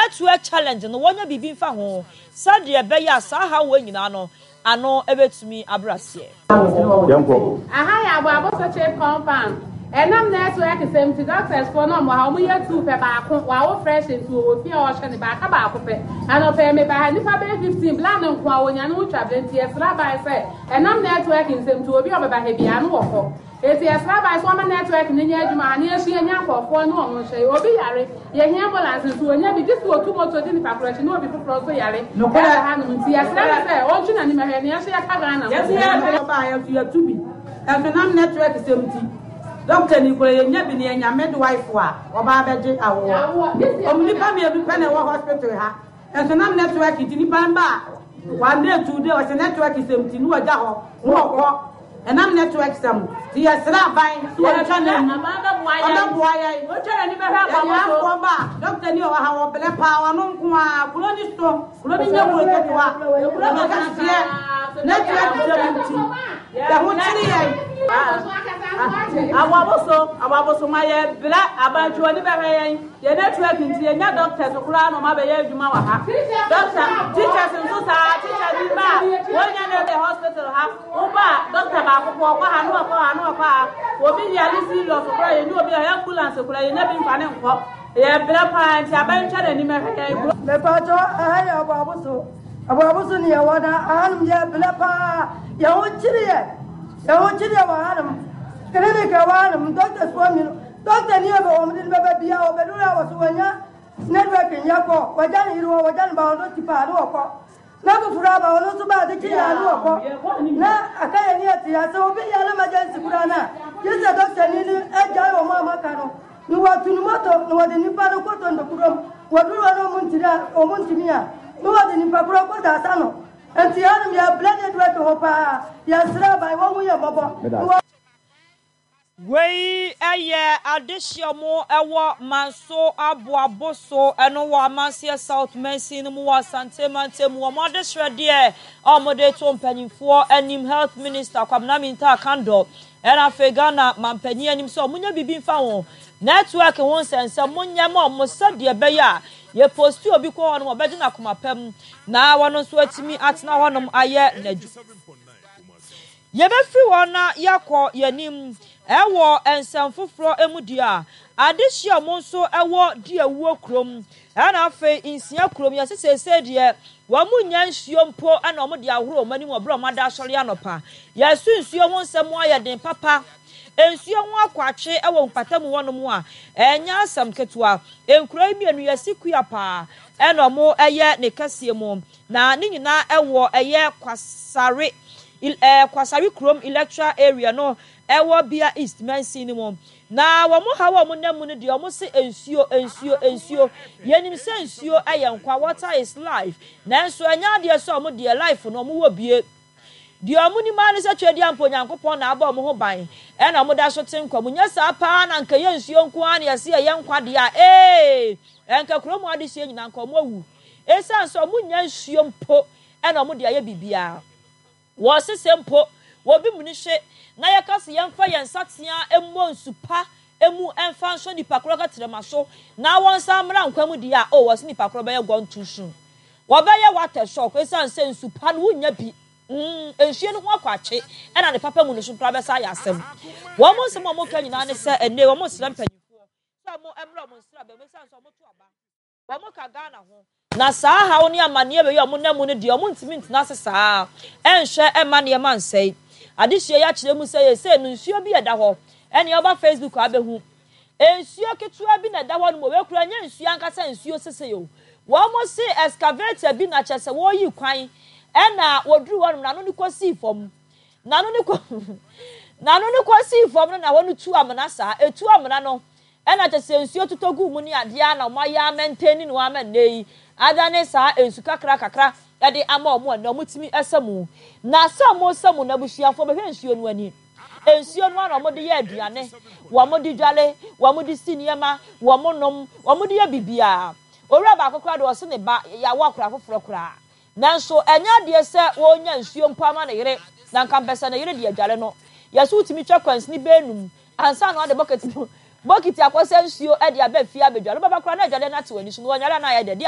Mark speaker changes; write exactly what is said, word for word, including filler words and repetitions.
Speaker 1: Network challenge no wɔnyɛ biribi mfa ho sɛdeɛ ɛbɛyɛ a saa haw wei nyinaa no ano bɛtumi abrɛ aseɛ.
Speaker 2: Yɛnkɔ.
Speaker 3: Aha yɛ Aboabo Sokyere compound. Ɛnam network sɛm nti doctors foɔ no ɔmo ha ɔmo yɛ two pɛ baako wawo fresh nti wɔwɔ fie a ɔhwɛ ne baaka baako pɛ. Anɔpɛ yi meba ha nipa bɛyɛ fifteen bla ne nko a wɔnya ne ho twa berɛ nti yɛsrɛ aban sɛ ɛnam network nsɛm nti obi a ɔbɛba ha biara no wɔ hɔ. Eti yɛsrɛ aban sɛ ɔma network no nyɛ adwuma ha na yɛsua nya nkurɔfoɔ ne ɔmo nhwɛ. Obi yare yɛhia ambulance nso wɔnya bi gye sɛ wɔtu moto di nipa korɔ akyi na obi foforɔ nso yare ɛwɔ hanom nti yɛsrɛ no sɛ ɔntwe n'anim ɛhwɛ ne yɛnso yɛka Ghana ho.
Speaker 4: Yɛso yɛhwɛ ɔbaa yɛso yɛtu bi ɛso nam network sɛm nti doctor ni kura yɛnya bi ne yɛnya midwife a ɔbaa bɛgye awoɔ. Ɔmo nipa mmienu pɛ na ɛwɔ hospital ha ɛso nam network nti nipa mba a one day two day ɔsɛ network sɛm nti ne wɔgya hɔ ne wɔkɔ ɛnam network sɛm nti yɛsrɛ aban sɛ wɔntwa n'ani ɔbɛboa yɛn yɛnyafoɔ ba a doctor ni ɔwɔ ha wɔbrɛ paa ɔno nko a kuro ni so kuro ni nyɛ kuro ketewa kuro kɛseɛ network sɛm nti yɛho kyere yɛn.
Speaker 5: Aboaboso Aboaboso ma yɛ brɛ abantwe oni bɛhwɛ yɛn yɛ network nti yɛnya doctors koraa na ɔma bɛyɛ adwuma wɔ ha. Doctor teachers nso saa teacher bi ba a wɔnya ne de hospital ha woba a doctor baako pɔ ɔkɔ ha ne ɔkɔ ha ne ɔkɔ ha obi yare serious koraa yɛnyɛ obi a ambulance koraa yɛnya bi mfa ne nkɔ yɛ brɛ paa nti abantwa n'anim ɛhwɛ yɛn.
Speaker 6: Mepatɔ ɛha yɛ Aboaboso Aboaboso ne yɛwɔ na ahanom yɛ brɛ paa yɛho kyere yɛ yɛho kyere yɛ wɔ hanom clinic ɛwɔ hanom doctors foɔ mmienu doctor ni yɛ bɛ wɔn de ne bɛbɛ bia wɔbɛduru a wɔso wɔnya network nyɛ kɔ wɔgya ne yere wɔ wɔgya ne ba wɔn ti paa ne wɔkɔ na foforɔ aba wɔn nso ba ade kyi yɛ ne wɔkɔ na aka yɛ ne yɛ te ase obi yɛ emergency koraa na gye sɛ doctor ni ne agya wɔn a maka no na wɔtu ne moto na wɔde nipa no kɔtɔ ntokurom wɔduru hɔ na wɔn ntiri a wɔn ntumi a na wɔde nipa korɔ kɔ daasa no nti hanom yɛ brɛ network hɔ paa yɛsrɛ aban wɔn ho yɛ mmɔbɔ.
Speaker 1: Wei yɛ adehyeɛ mo ɛwɔ Manso Aboaboso ɛno wɔ Amanseɛ South Mansin no mu wɔ Asante mantam mu. Wɔn adesrɛdeɛ a wɔde to mpanyinfoɔ anim Health Minister Kwabena Mintah Akandoh ɛna afei Ghana mampanyin anim sɛ wɔnyɛ biribi mfa ho network ho nsɛnsɛm monyɛ ma wɔn sɛdeɛ ɛbɛyɛ a yɛpost obi kɔ hɔnom ɔbɛgye n'akoma pam na wɔn nso atumi atena hɔnom ayɛ n'adwuma. Yɛbɛfiri hɔ na yɛakɔ yɛnim ɛwɔ nsɛm foforɔ mu deɛ a adehyia mo nso ɛwɔ Diawuo kurom ɛna afei Nsia kurom yɛsɛ seesei deɛ wɔn mu nya nsuo mpo ɛna wɔn de ahoro wɔn anim wɔ berɛ a wɔn ada asɔre anɔpa. Yɛso nsuo ho nsɛm ayɛ den papa nsuo ho akɔ atwe ɛwɔ mpata mu hɔnom a ɛnyɛ asɛm ketewa. Nkuro yi mmienu yɛsi kua paa ɛna wɔn ɛyɛ ne kɛseɛ mu na ne nyinaa ɛwɔ ɛyɛ Kwasare ɛɛ Kwasare kurom electoral area no ɛwɔ Bia East mansin no mu na wɔn ha wɔ wɔn nam mu no deɛ wɔn se nsuo nsuo nsuo yɛnim sɛ nsuo ɛyɛ nkwa water is life nanso ɛnyɛ adeɛ sɛ wɔn deɛ life no wɔn wɔ bie deɛ wɔn nim ara ne sɛ twɛ mpo Nyankopɔn na abɔ wɔn ho ban ɛna wɔn da so te nkwa mu nyɛ saa paa na nka yɛ nsuo nko ara na yɛsi ɛyɛ nkwa deɛ a ee ɛnka kurom adehyɛ nyinaa nka wɔn awu esan sɛ wɔn nya nsuo mpo ɛna wɔn de ayɛ biribiara wɔsese mpo wɔbi mu ni hye na yɛka sɛ yɛmfa yɛn nsatea mmɔ nsu pa emu ɛmfa nso nipa korɔ kɛtɛrɛma so na wɔn nsa mmra nkwa mu deɛ a o wɔsi nipa korɔ bɛyɛ gone too soon wɔbɛyɛ water shock esan sɛ nsu pa no wunya bi mm nsuo no ho akɔ akye ɛna ne papa mu no so koraa bɛsa ayɛ asɛm wɔn mo nsɛm a wɔn ka nyinaa ne sɛ ɛnɛ wɔn nsrɛ mpanyinfoɔ sɛ wɔn mmra wɔn nsra bɛn esan sɛ wɔn to aba wɔn ka Ghana ho na saa haw ne amanneɛ wei a wɔn nam mu no deɛ wɔn ntumi ntena ase saa ɛnhwɛ ɛma nneɛma nsɛe adehyia yi akyerɛ mu sɛ yɛsɛ no nsuo bi ɛda hɔ ɛne ɔba Facebook abɛhu nsuo ketewa bi na ɛda hɔ no mu wɔkura nyɛ nsuo ankasa nsuo sese o wɔn mo se excavator bi na kyerɛ sɛ wɔreyi kwan ɛna wɔduru hɔ nom n'ano ne kɔsii fam n'ano ne kɔ n'ano ne kɔsii fam no na wɔn tu amena saa etu amena no ɛna kyerɛ sɛ nsuo totɔ gu mu ne adeɛ na wɔn ayɛ amɛntɛni no ama nne yi adane saa nsu kakra kakra ɛde ama wɔn ɛnɛ wɔn tumi ɛsɛ mu na sɛ wɔn sɛ mu n'abusuafoɔ bɛhwɛ nsuo no ani nsuo no ara wɔn de yɛ aduane wɔn de dwale wɔn de si nneɛma wɔn nom wɔn de yɛ biribiara owura baako koraa de ɔsi ne ba yawo akora foforɔ koraa nanso ɛnyɛ adeɛ sɛ wɔnya nsuo mpo ama ne yere na nka mpɛ sɛ ne yere de adwale no yɛso wotumi twa kwansini bɛɛnum ansa na ɔde bucket bokiti akɔsɛ nsuo ɛde aba fie abɛdwale bɛba koraa na adwale no ate w'ani so na wɔnyare na ayɛ dɛ.